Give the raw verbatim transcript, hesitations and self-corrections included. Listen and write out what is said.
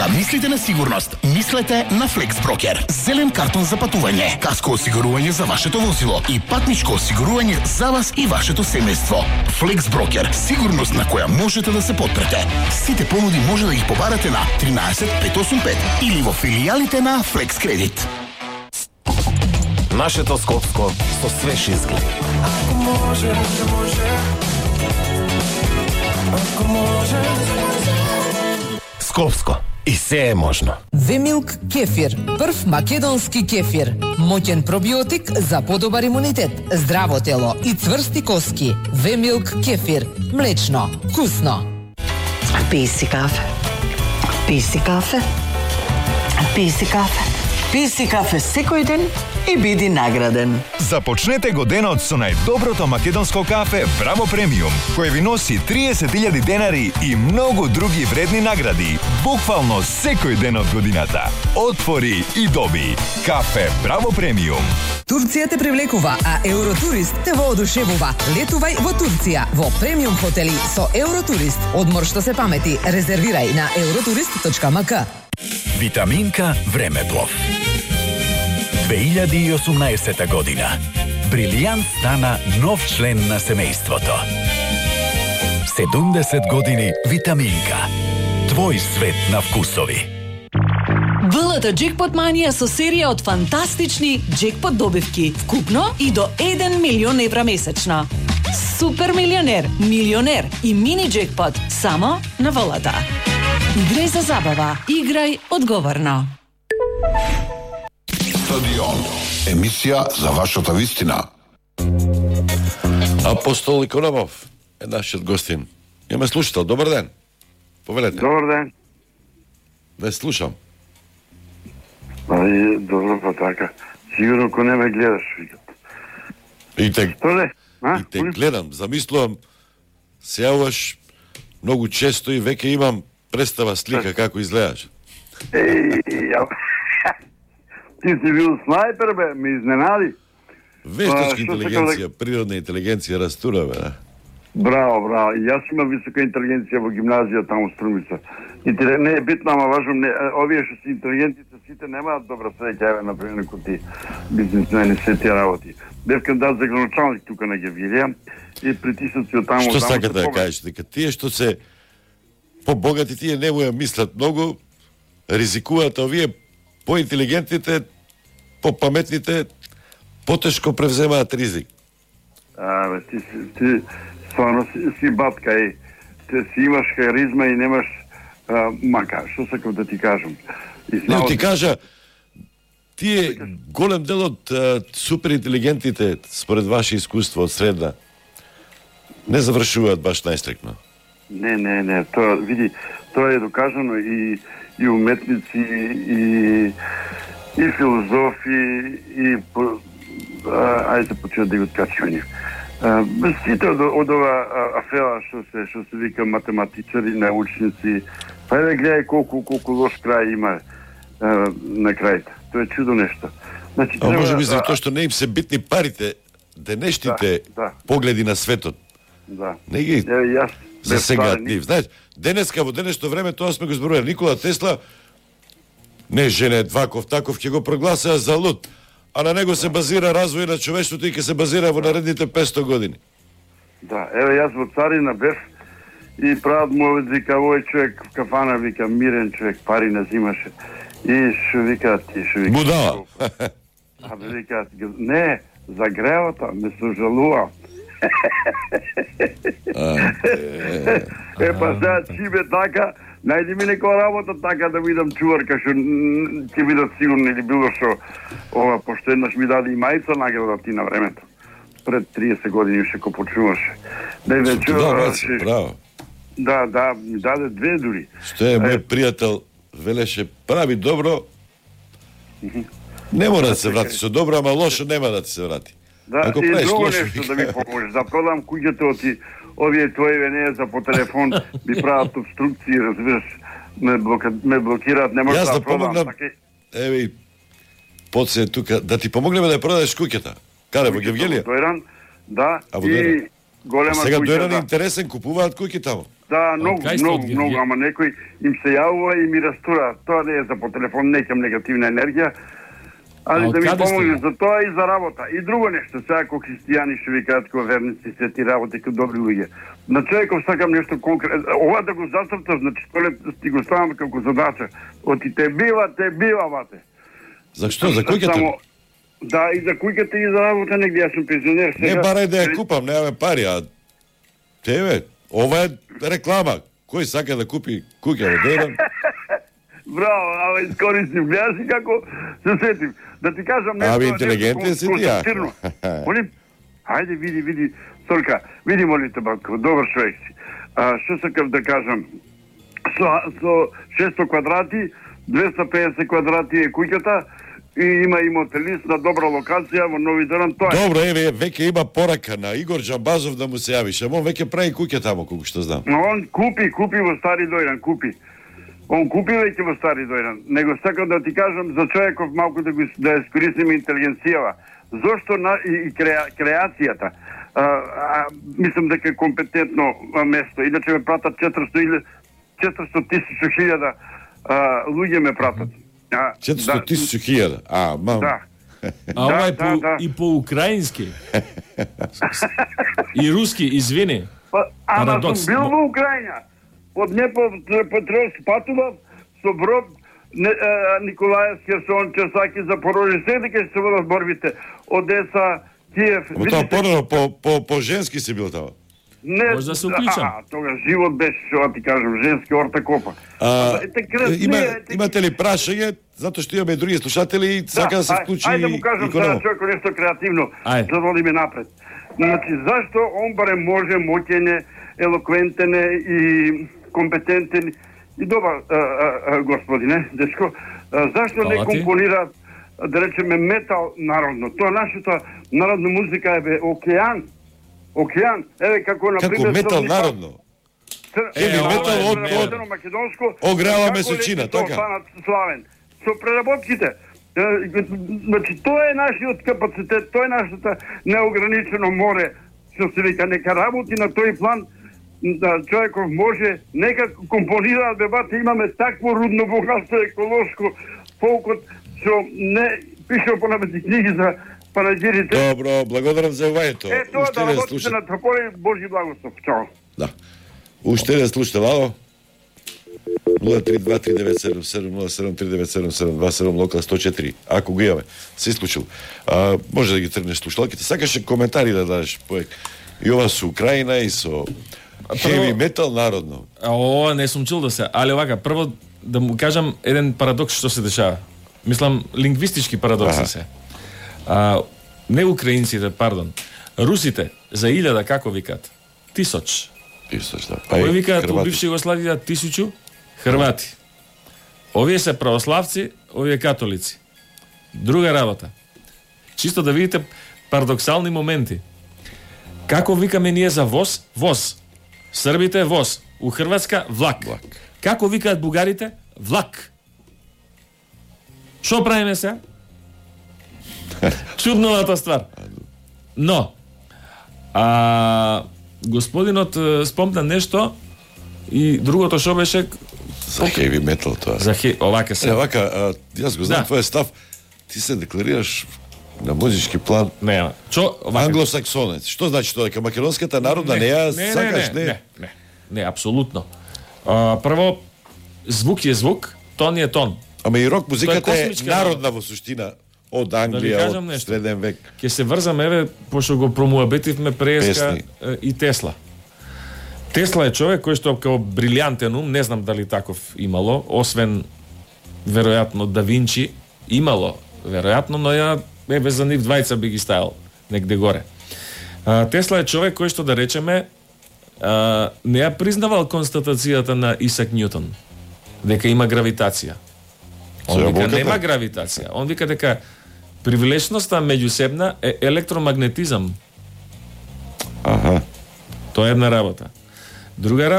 Кога мислите на сигурност, мислете на FlexBroker. Зелен картон за патување, каско осигурување за вашето возило и патничко осигурување за вас и вашето семејство. FlexBroker, сигурност на која можете да се потпрете. Сите понуди може да ги побарате на тринаесет пет осум пет или во филијалите на Flex Credit. Нашето Скопско со свеж изглед. Ако може, може. Ако може, Скопско. И се е можно. Вемилк кефир, прв македонски кефир. Моќен пробиотик за подобар имунитет, здраво тело и цврсти коски. Вемилк кефир, млечно, вкусно. Пи си кафе. Пи си кафе. Пи си кафе. Пи си кафе секој ден и биди награден. Започнете го денот со најдоброто македонско кафе Браво Премиум, кој ви носи триесет илјади денари и многу други вредни награди, буквално секој ден од годината. Отвори и доби. Кафе Браво Премиум. Турција те привлекува, а Евротурист те воодушевува. Летувај во Турција, во премиум хотели со Евротурист. Одмор што се памети, резервирај на евротурист точка ем ка. Витаминка Времеплов. две илјади и осумнаесета година. Брилијант стана нов член на семејството. седумдесет години Витаминка. Твој свет на вкусови. ВЛТ Джекпот Манија со серија од фантастични джекпот добивки, вкупно и до еден милион евра месечно. Супер милионер, милионер и мини джекпот само на ВЛТ. Играј за забава, играј одговорно. Стадион. Емисија за вашата вистина. Апостол Икономов е нашиот гостин. Имаме слушател. Добар ден. Повелете. Добар ден. Ве слушам. Ај, добро па така. Сигурно ко не ме гледаш, викат. И те, Толе? и те гледам. Замислувам, се јавуваш многу често и веќе имам представа слика како изгледаш. Еј, ја... Ти си бил снайпер, бе, ме изненади. Вештачка интелигенција, природна интелигенција растура, бе, да? Браво, браво. И јас имам висока интелигенција во гимназија таму Струмица. И ти не е битно, ама важно, не, овие што си интелигентите сите немаат добра среќа, еве, например, како ти бизнисмени, се тие работи. Бевкам дат за граначалник тука на Гевилија и притиснати од таму... Што сакате да кажеш? Дека тие што се побогати, тие не му ја мислат многу, ризикуваат, а овие поинтелигентните, попаметните, потешко превземаат ризик. А, бе, ти, ти стварно си, си батка, е. Ти си имаш харизма и немаш а, мака. Што сакам да ти кажам? И Не, ти кажа, тие голем дел од а, суперинтелигентите, според ваше искуство од средна, не завршуваат баш најстрикно. Не, не, не. Тоа, види, тоа е докажано и, и уметници, и, и филозофи, и... По, ајде почнат да го откачуваме. Сите од, од ова афера што се што се вика математичари, научници, па еве гледај колку колку лош крај има а, на крајта. Тоа е чудо нешто. Значи, а може би за тоа што не им се битни парите, денешните да, да. погледи на светот. Да. Не ги е, јас засегаат нив. Знаеш, денеска во денешно време тоа сме го зборували. Никола Тесла не жене Дваков таков ќе го прогласаа за луд. А на него се базира развој на човештвото и ќе се базира во наредните петсто години. Да, еве јас во Царина бев и прават му вика овој човек в кафана, вика мирен човек, пари не взимаше. И што вика ти, што вика... Будала. А вика, не, за гревата ме сожалува. Е, па сега чибе така, најди ми некоја работа така да видам чуварка, што ќе видат сигурно или било што, ова, пошто еднаш ми даде и мајца награда ти на времето. Пред триесет години уште ко почнуваше. Да, да, чува, браво. Да, да, ми даде две дури. Што е мој пријател, велеше, прави добро, не мора да се врати со добро, ама лошо нема да ти се врати. Да, ако и друго лошо, нешто да ми поможеш, да продам куќето ти, овие твои венеја за по телефон, ми прават обструкции, разбираш, ме, блока, ме блокираат, не може да, да продам. Помогнам, така... Еве, поце тука, да ти помогнеме да продадеш куќата. Каде, во Гевгелија? Дојран, да, а, во и голема а сега куќа, Дојран да. Интересен, купуваат куќи таму. Да, многу, кај сте од многу, Гергија? многу, ама некој им се јавува и ми растура. Тоа не е за по телефон, некам негативна енергија. А Али од да ми каде сте, помогне бе? за тоа и за работа. И друго нешто, сега како христијани што ви кажат како верници, се ти работи како добри луѓе. На човеков сакам нешто конкретно. Ова да го зацртам, значи тоа ти го ставам како задача. Оти те бива, те бива, бате. За што? За куќата? Само- Да, и за куќата и за работа негде, јас сум пензионер. Не сега. барај да ја купам, немаме пари, а тебе, ова е реклама. Кој сака да купи куќа во Дејдан? Браво, ама искористив. Гледаш и како се сетим. Да ти кажам нешто. Ами, нешто интелигентен си ти, ја. конструктивно. Молим? Хајде, види, види. Сорка, види, моли те, батко, добар човек си. А, што сакав да кажам? Со, со шесто квадрати, двеста педесет квадрати е куќата и има и мотелист на добра локација во Нови Доран. Тоа е. Добро, еве, веќе има порака на Игор Джамбазов да му се јавиш. Ама он веќе прави куќа тамо, колку што знам. Но он купи, купи во Стари Дојран, купи. Он купи веќе во Стари Дојран. Него сакам да ти кажам за човеков малку да го да ја искористиме интелигенцијава. Зошто на и, и креа, креацијата. А, а, мислам дека е компетентно а, место. Иначе ме пратат четиристо илјади четиристо тисучи хиљада луѓе ме пратат. А, четиристо тисучи хиљада. А, мам. Да. А ова е да, по, да. и по украински. И руски, извини. Па, ама Парадокс. сум бил во Украина. Од Днепропетровск патував со брод не, е, Николаев, Херсон, Черсаки, Запорожје, се дека се водат борбите. Одеса, Киев. Ама тоа порано по, по, по женски си бил тамо. Не, Може да се уклучам. А, тога живот беше, што ти кажам, женски орта копа. А, Ете, красни, има, ете, имате ли прашање? Затоа што имаме и други слушатели и сака да се ај- вклучи Ајде да му кажам и сега Коново. човеко нешто креативно, Ајде. за да одиме напред. Значи, зашто он барем може, моќен е, елоквентен е и компетентен и добар а, а, а, господине, дечко, а, зашто не Фала ти. компонира, да речеме, метал народно? Тоа нашата народна музика е бе океан. Океан. Еве како на Како пример метал Србија- народно. Еви, ова метал е од, метал. од македонско. ограва како месечина, лети тоа така? станат славен. Со преработките. Е, Значи, тоа е нашиот капацитет, тоа е нашата неограничено море, што се вика, нека работи на тој план, да човеков може, нека компонира дебата, имаме такво рудно богатство еколошко, фолкот, што не пишува понапреди книги за панагирите. Добро, благодарам за јавањето. Е, тоа Уште да еден работите слушател. на Тополи, Божи благослов. Чао. Да. Уште еден слушател, ало? нула три два три девет седум седум нула седум три девет седум седум два седум локал сто четири. Ако го имаме, се исклучил. А, може да ги тргнеш слушалките. Сакаше коментари да дадеш поек. И ова со Украина и со хеви метал народно. А ова не сум чул да се, али овака, прво да му кажам еден парадокс што се дешава. Мислам, лингвистички парадокси Аха. се. А, не украинците, пардон. Русите за илјада како викаат? Тисоч. Тисоч, да. Кој викаат у Хрвати. бивша Југославија тисучу? Хрвати. Овие се православци, овие католици. Друга работа. Чисто да видите парадоксални моменти. Како викаме ние за воз? Воз. Србите воз. У Хрватска влак. Влак. Како викаат бугарите? Влак. Што правиме се? Чудновата ствар. Но, а, господинот е, спомна нешто и другото што беше За хеви метал тоа. за хе, овака се. Е, вака, а, јас го знам Да. твојот став. Ти се декларираш на музички план Не, чо, овака. англосаксонец. Што значи тоа? Дека македонската народна не, ја сакаш, не? не, не, не, апсолутно. А, прво, звук е звук, тон е тон. Ама и рок музиката Тоа е е космичка народна во суштина од Да ви Англија, кажам од нешто. среден век. Ќе се врзам, еве, пошто го промуабетивме преска Песни. е, и Тесла. Тесла е човек кој што као брилјантен ум, не знам дали таков имало, освен веројатно Да Винчи, имало, веројатно, но ја еве за нив двајца би ги ставил негде горе. А, Тесла е човек кој што да речеме а, не ја признавал констатацијата на Исак Њутон дека има гравитација. Он Со вика јаболката? нема гравитација. Он вика дека привлечноста меѓусебна е електромагнетизам. Аха. Тоа е една работа. Друга работа